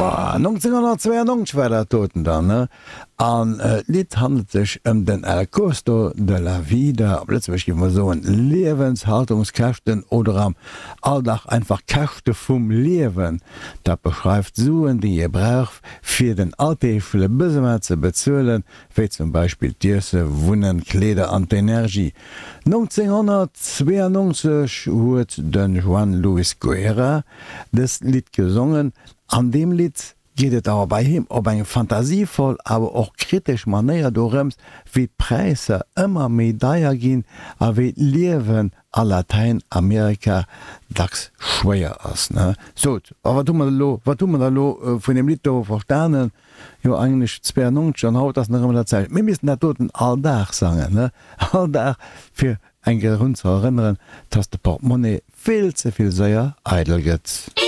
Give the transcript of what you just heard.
Boah, 1992 war dat doten dann, ne? An d'Lidd handelt sech ëm den El costo de la vida, op Lëtzebuergesch géife mer soen Liewenshaltungskäschten oder am Alldag einfach Käschte vum Liewen. Dat beschreift d'Suen, déi ee brauch, fir den alldeegleche Besoin ze bezuelen, wéi zum Beispill d'Iesse, Wunnen, Kleeder an d'Energie. 1992 huet de Juan Luis Guerra dëst Lidd gesongen. An deem Lidd geet et awer bei him op eng fantasievoll, awer och kritesch Manéier dorëms, wéi d'Präisser ëmmer méi deier ginn a wéi d'Liewen a Latäinamerika dacks schwéier ass. Sot, a wat hu mer elo, wat hu mer da elo vun deem Lidd do verstanen? Jo eigentlech 92 an haut ass nach ëmmer dat selwecht. Mir missten dat doten all Dag sangen, ne? All Dag fir eng Kéier drun ze erënneren, dass de Portemonnaie vill ze vill séier eidel gëtt.